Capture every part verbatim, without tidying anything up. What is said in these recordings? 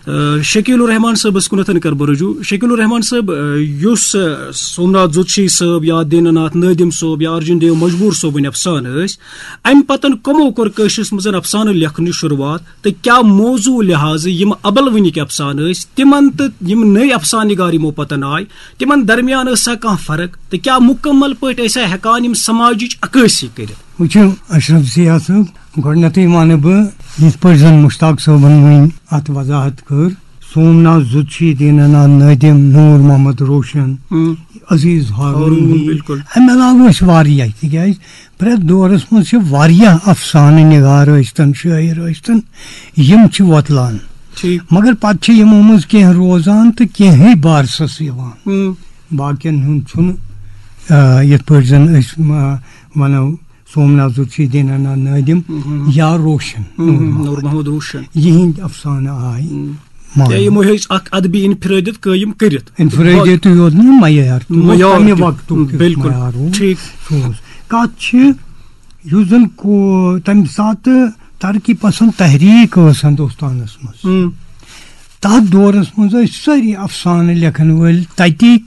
آ، شکیل الرحمان صٲبس کُنتھ کر بہٕ رجوع۔ شکیل الرحمان صٲب، آ، یُس، آ، سومناتھ جوتشی صٲب یا دینا ناتھ نادم صٲب یا ارجن دیو مجبور صٲبٕنۍ افسانہٕ ٲسۍ، امہِ پتن کمو کوٚر کٲشرِس منٛز افسانہٕ لیکھنٕچ شروعات تہٕ کیٛاہ موضوع لحاظہٕ یِم ابلوٕنِکۍ افسانہٕ ٲسۍ، تِمن تہٕ یِم نٔوۍ افسانہٕ نگار یِمو پتن آے، تِمن درمیان ٲسا کانٛہہ فرق تہٕ کیٛاہ مُکمل پٲٹھۍ ٲسا ہٮ۪کان یِم سماجٕچ عکٲسی کٔرِتھ؟ وٕچھِو اشرف ضیاء صٲب، گۄڈٕنٮ۪تھٕے وَنہٕ بہٕ، یِتھ پٲٹھۍ زَن مُشتاق صٲبَن وٕنۍ اَتھ وضاحت کٔر، سومناتھ زُتشی، دیٖنہٕ ناتھ نٲدِم، نوٗر محمد روشن، ہم۔ عزیز ہارون ہارون، ہی۔ بِلکُل۔ اَمہِ علاوٕ ٲسۍ واریاہ، تِکیٛازِ پرٛٮ۪تھ دورَس منٛز چھِ واریاہ افسانہٕ نِگار ٲسۍتَن، شٲعر ٲسۍتَن، یِم چھِ وۄتلان۔ ٹھیٖک۔ مگر پَتہٕ چھِ یِمو منٛز کینٛہہ روزان تہٕ کینٛہٕے بارسَس یِوان۔ ہم۔ باقیَن ہُنٛد چھُنہٕ، آ، یِتھ پٲٹھۍ زَن أسۍ، آ، وَنو، سومناتھ زُتشی، دیٖنہٕ ناتھ نٲدِم ہم۔ یا روشن، ہم، نوٗر ہم، محمد۔ نوٗر محمد روشن۔ یِہِنٛدۍ افسانہٕ آے ہم۔ ماننہٕ۔ یا یِمو ہیٚچھ اکھ ادبی انفرٲدیت قٲیِم کٔرِتھ۔ انفرٲدیت یوت نہٕ، معیار تہِ اوس معیار تَمہِ تہِ۔ وقتُک تیُتھ بِلکُل۔ معیار اوس۔ ٹھیٖک۔ سُہ اوس۔ کَتھ چھِ، یُس زَن کو-، تَمہِ ساتہٕ ترقی پسند تحریٖک ٲس ہندوستانَس منٛز۔ ہم۔ تَتھ دورَس منٛز ٲسۍ سٲری افسانہٕ لیکھن وٲلۍ تَتِکۍ،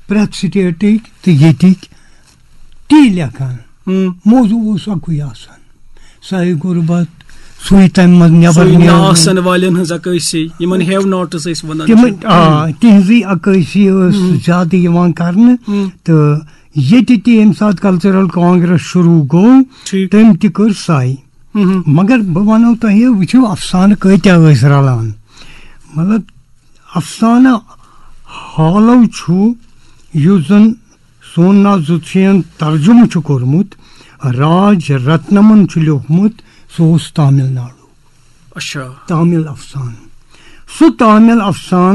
پرٛٮ۪تھ سٹیٹٕکۍ تہٕ ییٚتِکۍ تی لیکھان۔ ہم۔ موضوع اوس اَکُے آسان، ساے غربت، سُے تَمہِ منٛز نٮ۪بر سُے نیرُن۔ نہ آسن والٮ۪ن ہٕنٛز عکٲسی، یِمن ہیو ناٹس ٲسۍ وَنان۔ تِمن، آ، تِہنٛزٕے عکٲسی ٲس ہم۔ زیادٕ یِوان کرنہٕ۔ ہم۔ تہٕ ییٚتہِ تہِ ییٚمہِ ساتہٕ کلچرل کانگریس شروٗع گوٚو، ٹھیٖک۔ تٔمۍ تہِ کٔر ساے۔ ہم۔ مگر بہٕ وَنو تۄہہِ، وٕچھِو، افسانہٕ کۭتیاہ ٲسۍ رلان۔ مطلب، افسانہٕ ہالو چھُ، یُس زن سومناتھ زُتشیَن ترجمہٕ چھُ کوٚرمُت، راج رتنمن چھُ لیوٗکھمُت، سُہ اوس تامل ناڈو۔ اچھا۔ تامل افسانہٕ۔ سُہ تامل افسانہٕ